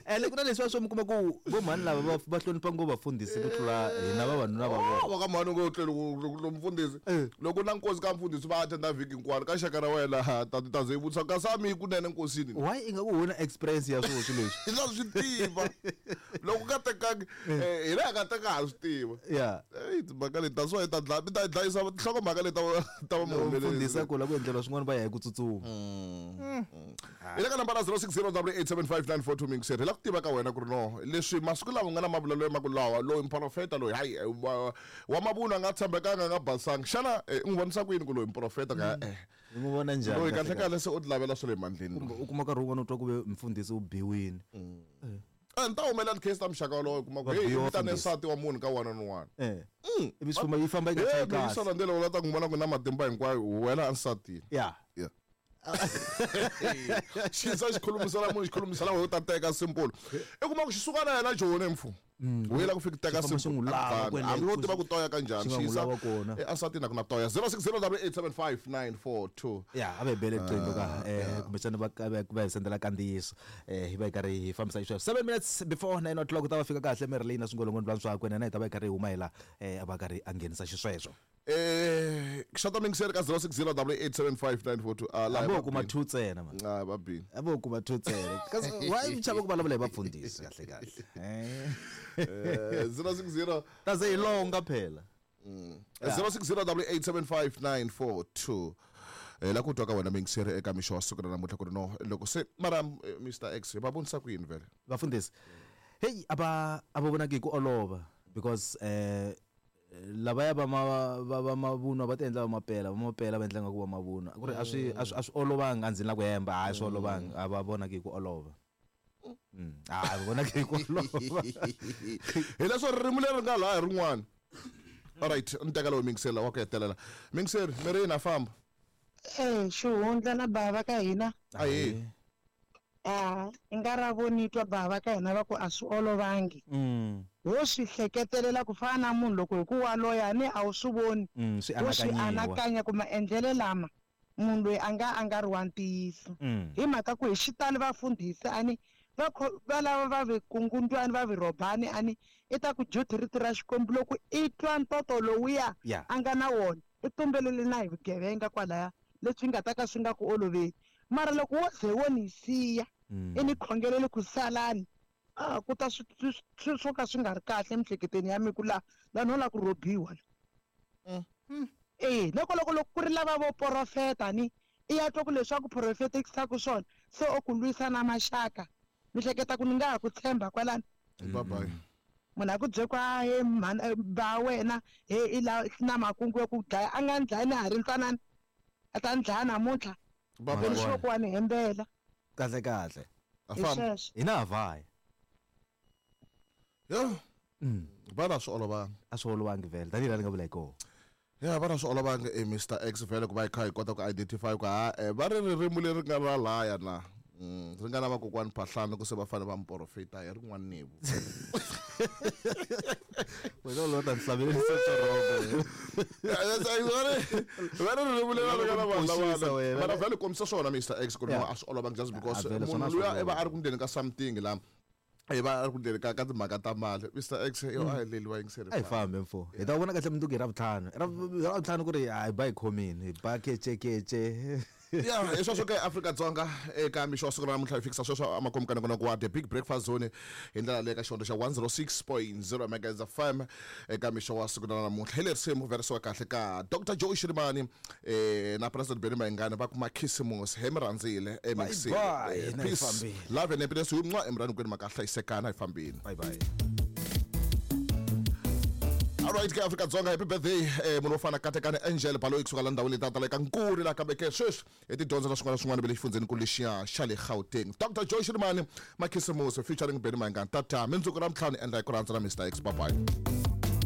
Ene ku na leswiya swo mi kuma ku vo mhani lava va va hlonipha ngopfu vafundhisi ku tlula hina vavanuna va vona. Va ka mhani ngo tlele ku mfundhisi loko na nkosi ka mfundhisi va attenda vhiki hinkwaro ka xaka ra wena ha ta ta ze vutisa kasi a mi yi kunene nkosini. Why ingaku ho na experience ya swona swilo leswi? Hi ta swi tiva loko ka tekangi hina hi nga teka ha swi tiva. Ya. Eyi timhaka leti that's why hi ta dlaya mi ta hi dlayisa tinhlokomhaka leti ta va Loko mfundhisi a ku la ku endleriwa swin'wana va ya hi ku tsutsuma. Hi le ka nambara 06087594 mingiseri hi la ku tiva ka wena ku ri no leswi masiku lawa nga na mavulelo ma ku lawa loyi muprofeta loyi hayi wa mavunwa a nga tshembekanga a nga basanga xana u n'wi vonisa ku yini ku loyi muprofeta ka U n'wi vona njhani loyi kahle kahle se u ti lavela swa le mandleni kumbe u kuma nkarhi wun'wana u twa ku ve mfundhisi u biwini. Ni ta humelela ti-case ta muxaka wolowo u kuma ku hey vitane nsati wa munhu ka one on one. Ivi swi famba yi famba yi nga kahle. Hey landzela u la ta n'wi vona ku na matimba hinkwayo wena ansatini. Yeah. Yeah. Xi za xi khulumisela munhu xi khulumisela wena u ta teka simple. I kuma ku xi suka na yena joni mfu. U yela ku fika teka simple. Hambi wo tiva ku toya ka njhani xi yisa ansatini a ku na toya 0608759442. Ya a va hi bele riqingho ka kumbexana va va hi sendela kandziyiso hi va hi karhi hi fambisa xisweswo 7 minutes before 9 o'clock u ta va fika kahle Merlin na swingolongondzwana swakwe na yena hi ta va hi karhi hi huma hi la a va karhi a nghenisa xisweswo. Xota mingiseri ka 0608875942 ah la vo kuma 2 ntsena man. Ah va bini. A vo kuma 2 ntsena. Kasi why mi chava ku vulavula hi vafundhisi kahle kahle. 060 Ta ze hi longa phela. 0608875942 la ku twa ka wena mingiseri eka mixo wa siku ra namuntlha ku ri no loko se mara Mr X va vonisa ku yini vhele vafundhisi heyi a va a va vonaki hi ku olova because lavaya va ma va va mavunwa va ti endla va mapela va mapela va endla nga ku va mavunwa ku ri a swi a swi a swi olovanga a ndzi la ku hemba a swi olovanga a va vonaki hi ku olova. A va vonaki hi ku olova. Hileswo ririmi leri nga laha hi rin'wana. Alright, ni teka lowu mingisela wa ku hetelela. Mingiseri, mi ri yini a famba? Eh, xihundla na bava ka hina. Ahee. A i nga ra vo ni twa bava ka hina va ku a swi olovangi. Wo swi hleketelela ku fana na munhu loko hi ku wa loya ni a wu swi voni. Swi Wo swi anakanya ku maendlelo lama munhu loyi a nga a nga ri wa ntiyiso. Hi mhaka ku hi xitalo vafundhisi a ni va va lava va vikungundwani va virhobani a ni i ta ku juthi rito ra Xikwembu loko i twa ntoto lowuya a nga na wona i tumbelele na hi vugevenga kwalaya leswi nga ta ka swi nga ku oloveli. Mara loko wo ze wo ni siya i ni khongeleli ku salani a ku ta swi swo ka swi nga ri kahle emiehleketweni ya mina ku la la no la ku rhobiwa la. E loko loko loko ku ri lava vo porofeta ni i ya twa ku leswi a ku porofetekisaka swona se o ku lwisa na maxaka mi hleketa ku ni nga ha ku tshemba kwalano. Bye bye. Munhu a ku bye ku a he mhani ba wena he i la na makungu ya ku dlaya a nga ni dlayi na ha ri ntsanana a ta ni dlaya namuntlha. Bye Ni sure ku wa ni hembela. Kahle kahle. A famba. Hina ha vaya. Yo. Va na swi olovanga. A swi olovangi vhele tanihi laha ni nga vula hi kona. Ya va na swi olovanga e Mr X vhele ku va hi kha hi kota ku identify ku ha va ri ririmi leri nga ra laya na. Ri nga na vakokwani Phahlane ku se va fanele va muporofeta hi rin'wana nevu. Wena u lo ta ni hlavelelisa xirhobo. Va ri ririmi leri ri nga na vanhu Koxisa wena. Mara vhele kombisa swona Mr X ku ri no a swi olovanga just because vhele swona munhu a swi luya i va olovi. a ri ku ndleni ka something la i va a ri ku ndleni ka ka timhaka ta mali Mr X yo a hi leliwa yingiseri A hi fambe mfo. Hi ta vona kahle mundzuku hi Ravuntlhanu. Ravuntlhanu ku ri a hi ba hi khomini, hi ba kecekece. Ya hi sweswo ke Afrika-Dzonga eka mixo wa siku ra namuntlha hi fikisa sweswo emakumu ka nongonoko wa The Big Breakfast Zone hi ndlela leyi ka xihondzo xa 106.0 Megahertz FM eka mixo wa siku ra namuntlha hi lerisimu verisiwa kahle ka Dr Joe Shirimani na President Benny Mayengani va kuma khisimusi he mi rhandzile Bye bye, hina hi peace fambile. love and happiness hi nwa emurani kwenu maka hlayisekana hi fambini. Bye bye. Alright ke Afrika-Dzonga happy birthday munhu wo fana Katekani Angel Baloyi kusuka la ndhawini leti ta le ka Nkuri la kambe ke sweswi hi tidyondzo na swin'wana na swin'wana va le xifundzhenikulu lexiya xa le Gauteng. Dr Joe Shirimani Makhisimusi featuring Benny Mayengani tata mindzuku ra ntlhanu endla hi ku rhandza na Mr X bye bye.